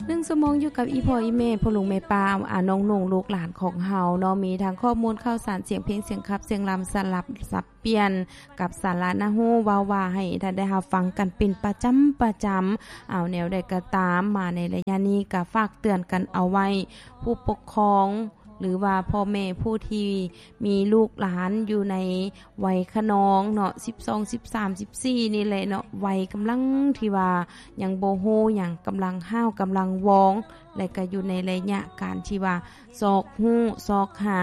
ໜຶ່ງຊົ່ວໂມງຢູ່ກັບອີ່ພໍ່ອີ່ແມ່ ພໍ່ລຸງແມ່ປ້າ ອາ ນ້ອງນຸ່ງ ລູກຫຼານຂອງເຮົາເນາະ ມີທັງຂໍ້ມູນຂ່າວສານ ສຽງເພງ ສຽງຂັບ ສຽງລຳ ສະຫຼັບສັບປ່ຽນ ກັບສາລະໜ້າຮູ້ເວົ້າວ່າ ໃຫ້ທ່ານໄດ້ຮັບຟັງກັນເປັນປະຈຳ ປະຈຳ. ເອົາ ແນວໃດກໍຕາມ ມາໃນໄລຍະນີ້ກໍຝາກເຕືອນກັນເອົາໄວ້ ຜູ້ປົກຄອງ ຫຼືວ່າພໍ່ແມ່ຜູ້ທີ່ມີລູກຫຼານຢູ່ໃນໄວຂະນອງເນາະ ສິບສອງ ສິບສາມ ສິບສີ່ ນີ້ແຫຼະເນາະ ໄວກຳລັງທີ່ວ່າຍັງບໍ່ຮູ້ຫຍັງ ກຳລັງຫ້າວ ກຳລັງວອງ ແລະກໍຢູ່ໃນໄລຍະການທີ່ວ່າຊອກຮູ້ ຊອກຫາ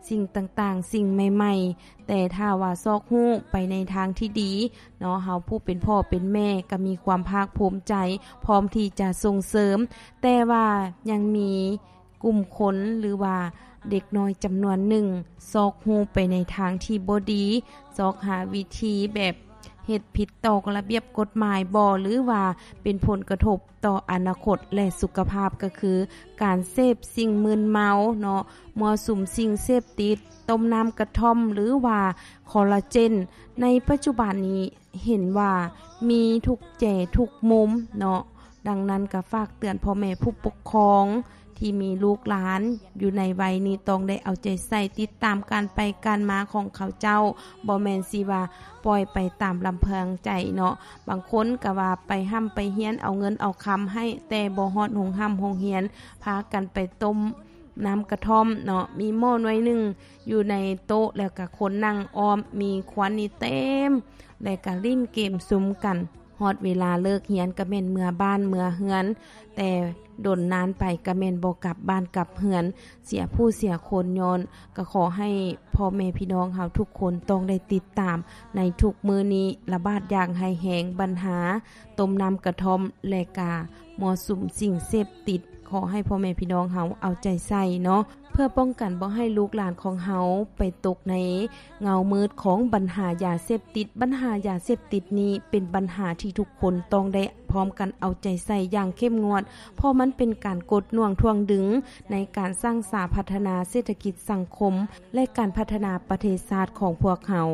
ສິ່ງຕ່າງໆ ສິ່ງໃໝ່ໆ ແຕ່ຖ້າວ່າຊອກຮູ້ໄປໃນທາງທີ່ດີເນາະ ເຮົາຜູ້ເປັນພໍ່ເປັນແມ່ກໍມີຄວາມພາກພູມໃຈ ພ້ອມທີ່ຈະສົ່ງເສີມ ແຕ່ວ່າຍັງມີ ກຸ່ມຄົນ ຫຼືວ່າເດັກນ້ອຍຈຳນວນໜຶ່ງ ຊອກຮູ້ໄປໃນທາງທີ່ບໍ່ດີ ຊອກຫາວິທີແບບເຮັດຜິດຕໍ່ລະບຽບກົດໝາຍບໍ ຫຼືວ່າເປັນຜົນກະທົບຕໍ່ອະນາຄົດ ແລະ ສຸຂະພາບ ກໍຄືການເສບສິ່ງມຶນເມົາເນາະ ມົ້ວສຸມສິ່ງເສບຕິດ ຕົ້ມນ້ຳກະທ່ອມ ຫຼືວ່າຄໍລາເຈນ ໃນປັດຈຸບັນນີ້ ເຫັນວ່າມີທຸກແຈທຸກມຸມເນາະ. ດັ່ງນັ້ນກໍຝາກເຕືອນພໍ່ແມ່ຜູ້ປົກຄອງທີ່ມີລູກຫຼານຢູ່ໃນໄວນີ້ ຕ້ອງໄດ້ເອົາໃຈໃສ່ຕິດຕາມການໄປການມາຂອງເຂົາເຈົ້າ ບໍ່ແມ່ນຊິວ່າປ່ອຍໄປຕາມລຳພັງໃຈເນາະ. ບາງຄົນກໍວ່າໄປຮ່ຳໄປຮຽນ ເອົາເງິນເອົາຄຳໃຫ້ ແຕ່ບໍ່ຮອດໂຮງຮ່ຳໂຮງຮຽນ ພາກັນໄປຕົ້ມ ນ້ຳກະທ່ອມເນາະ ມີໝໍ້ໜ່ວຍໜຶ່ງຢູ່ໃນໂຕະ ແລ້ວກະຄົນນັ່ງອ້ອມ ມີຄວັນນີ້ເຕັມ ແລ້ວກະຫຼິ້ນເກມຊຸມກັນ. ຮອດເວລາເລີກຮຽນກະແມ່ນເມືອບ້ານເມືອເຮືອນ ແຕ່ດົນນານໄປກະແມ່ນບໍ່ກັບບ້ານກັບເຮືອນ ເສຍຜູ້ເສຍຄົນ. ຍ້ອນ ກະຂໍໃຫ້ພໍ່ແມ່ພີ່ນ້ອງເຮົາທຸກຄົນຕ້ອງໄດ້ຕິດຕາມໃນທຸກມື້ນີ້ ລະບາດຢ່າງຮ້າຍແຮງບັນຫາ ຕົ້ມນ້ຳກະທ່ອມ ແລະກະມົ້ວສຸມສິ່ງເສບຕິດ. ຂໍໃຫ້ພໍ່ແມ່ພີ່ນ້ອງເຮົາເອົາໃຈໃສ່ເນາະ ເພື່ອປ້ອງກັນບໍ່ໃຫ້ລູກຫຼານຂອງເຮົາໄປຕົກໃນເງົາມືດຂອງບັນຫາຢາເສບຕິດ. ບັນຫາຢາເສບຕິດນີ້ເປັນບັນຫາທີ່ທຸກຄົນຕ້ອງໄດ້ພ້ອມກັນເອົາໃຈໃສ່ຢ່າງເຂັ້ມງວດ ເພາະມັນເປັນການກົດໜ່ວງຖ່ວງດຶງໃນການສ້າງສາພັດທະນາເສດຖະກິດສັງຄົມ ແລະ ການພັດທະນາປະເທດຊາດຂອງພວກເຮົາ.